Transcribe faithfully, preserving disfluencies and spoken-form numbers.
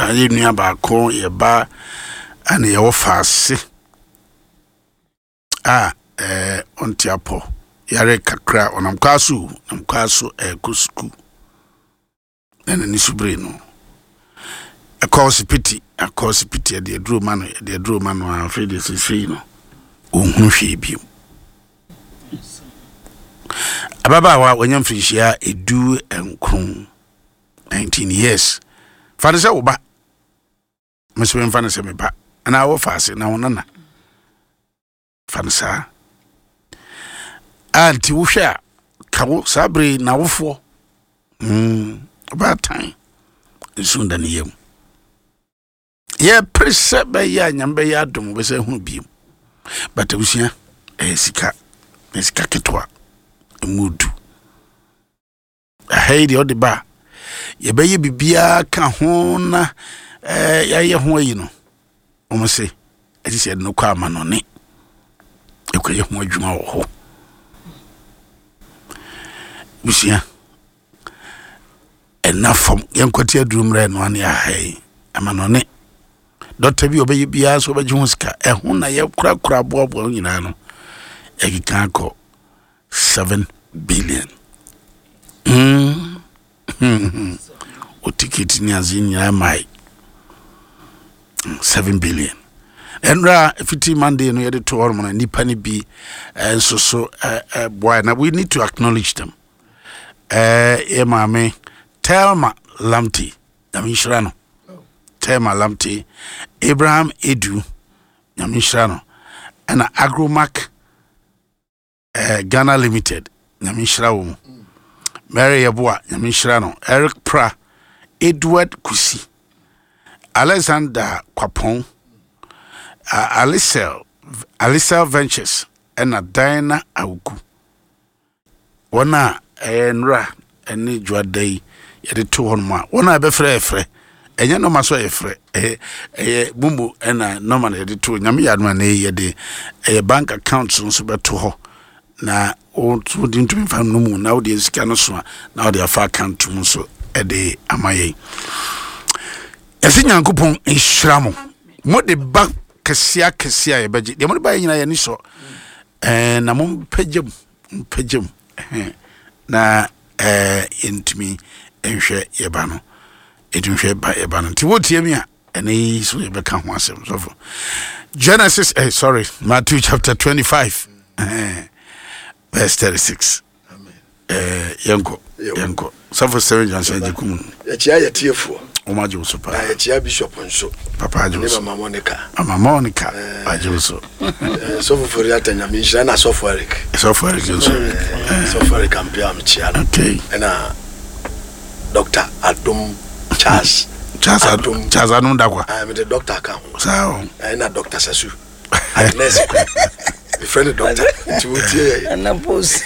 Yɛ nua baako, yɛ ba ɛna yɛwɔ faase a ɛɛ ɔnte apɔ, yare kakra, ɔnam kwa so, nam kwa so ɛɛkɔ sukuu na n'ani so bere no ɛkɔ hospital, akɔ hospital, yɛde aduro ma no, yɛde aduro ma no a, afei deɛ sesei no ɔnhunu hwee bio. Ababaawa a wanya mfirinhyia edu nkron, nineteen years. Fa no sɛ wo ba, meso memfa no sɛ me ba anaa wɔfa ase na wo nana, fa no saa a. Nti wohwɛ a, ka wo saa bere n'awofoɔ mm, ɔbaatan nsu da ne yam, yɛpere sɛ bɛyɛ a Nyame bɛyɛ adom wobɛsɛ hunu biom. But abusua, ɛyɛ sika na sika ketewa ɛmu du ɛha yi deɛ, ɔde ba a yɛbɛyɛ biribiara ka ho na ɛɛ yɛayɛ ho ayi no, wɔn se ɛte sɛ yɛde no kɔ amanɔne ɛkɔyɛ ho adwuma wɔ hɔ. Busua, ɛna fam yɛnkɔte aduru mmerɛ no ane aha yi amanɔne dɔkta bi a ɔbɛyɛ biara so ɔbɛgye ho sika ɛho na yɛkorakora aboaboa ho nyinaa no, ɛkeka akɔ seven billion mm. O ticket ne ase nyinaa mae seven billion. Ɛnora fiti Monday no yɛde to hɔ nom no, nnipa no bi eh, nso so eh, eh, boae na we need to acknowledge them. eh, yɛ maame Telma Lamte, Nyame nhyira no. Telma Lamte, Abraham Edu, Nyame nhyira no. Ɛna Agromac eh, Ghana Limited, Nyame nhyira wɔ mu. Mary Yɛboa, Nyame nhyira no. Eric Pra, Edward Kusi, Alexander Kwapɔn, uh, Alicel Alicel Ventures, ɛna Diana Awuku. Wɔn a ɛyɛ nnora ɛne dwoada yi yɛde to hɔ nom a, wɔn a ɛbɛfrɛ yɛfrɛ, ɛnyɛ nɔɔma so yɛfrɛ, ɛyɛ ɛyɛ MoMo ɛna nɔɔma na yɛde to. Nyame yɛ adom a, na yɛde ɛyɛ bank account nso bɛto hɔ na wode ntumi fa no mu na wode sika no so a, na wode afa account mu nso ɛde ama yɛn. Yɛsɛ Nyankopɔn nhyira mo. Mode ba kɛseɛ akɛseɛ a yɛbɛgye deɛ mode ba yɛ nyinaa, yɛni sɔ. ɛɛ na mompagya mu, mpagya mu ɛhɛn, na ɛɛ yɛntumi nhwɛ yɛba no, yɛntumi hwɛ ba yɛba no. Nti wotie mi a, ɛne yi so yɛbɛka ho asɛm sɔfo. Genesis, eh, sorry, Matthew chapter twenty-five eh, verse thirty-six. eh, yɛnkɔ, yɛnkɔ sɔfo Seven Johnson agye kum. Yɛkyia yɛtiefoɔ. Wɔn agye wo so paa. Na yɛkyia bishop nso. Papa agye wo ne so. Mama Monica. Mama Monica agye wo so. Eh, sɔfo Foriata, Nyame nhyira, na sɔfo Eric. Sɔfo Eric nso. Eh, sɔfo Eric Ampia, mekyia no. Okay ɛna Doctor Adom Charles. Charles Adom, Charles Adom Dakwa. Ah, mede doctor ka ho. Saa o. Ɛna Doctor Sasu Agnes, mefrɛ no doctor nti wotie yɛ. Ɛna post.